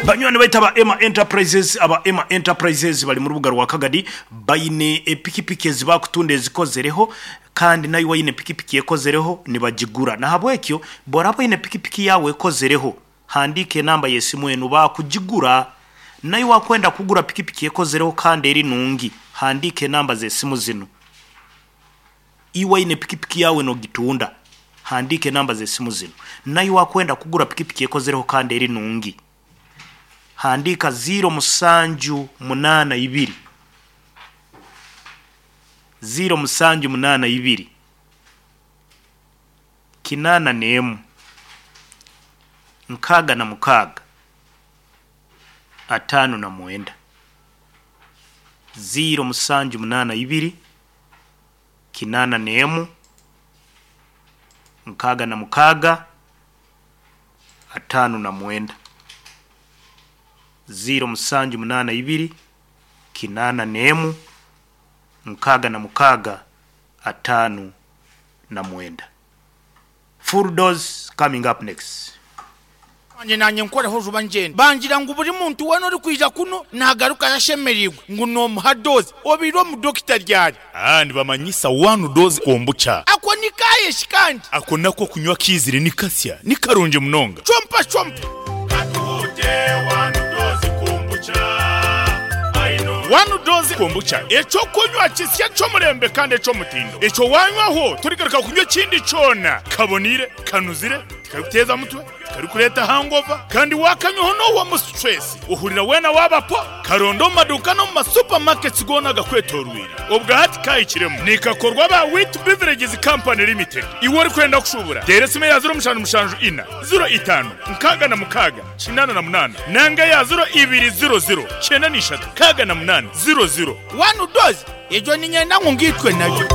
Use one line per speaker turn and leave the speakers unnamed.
Banywani baitu aba Emma Enterprises, aba Emma Enterprises bali mu rubuga rwa Kagadi, baine epikipiki ezi bakutunda ezikozereho kandi naiwe oine pikipiki ekozereho nibagigura. Nahabwekyo bworaba oine pikipiki yaawe ekozereho, handiika enamba y'esimu enu bakugigura. Naiwe akwenda kugura pikipiki ekozereho kandi eri nungi, handiika enamba z'esimu zinu. Iwe aine pikipiki yaawe n'ogitunda, handiika enamba z'esimu zinu. Naiwe akwenda kugura pikipiki ekozereho kandi eri nungi, handiika ziiro musanju munaana ibiri, ziiro musanju munaana ibiri, kinaana n'emu, nkaaga na mukaaga, ataano na mwenda. Ziiro musanju munaana ibiri, kinaana n'emu, nkaaga na mukaaga, ataano na mwenda. Ziiro musanju munaana ibiri, kinaana n'emu, nkaaga na mukaaga, ataano na mwenda. Full dose coming up next.
Wangye naanye nkoreho juba ngyende. Bangira ngu buri muntu weena orikwija kunu naagarukayo ashemereirwe ngu noomuha doozi. Obaire omu dokita ryari?
Aa nibamanyisa one dose kombucha.
Ako ni kaaye shi kandi?
Ako nako kunywa kiizire ni kasya, ni karungi munonga.
Chompa chompa.
Katuhute one dose kombucha. One dose kombucha eky'okunywa kisya eky'omurembe kandi eky'omutindo. Ekyo waanywaho torigaruka kunywa ekindi kyona. Kaboniire, kanuzire, tikarikuteeza mutwe. Tikarikureeta hangover kandi waakanywaho noohwamu stress ohurira weena waaba po. Karonde omu maduuka n'omu ma supermarkets goona agakwetooroire. Obwa hati kaahikiremu. Nikakorwa aba Wheat Beverages Company Limited. Iwe orikwenda kushuubura, teera esimu eya ziro mushanju mushanju ina, ziro itaano, nkaaga na mukaaga, kinaana na munaana nanga eya ziro ibiri ziro ziro, kyenda na ishatu, nkaaga na munaana, ziro ziro.
One dose, egyo niinyenda ngu ngaitwe nayo.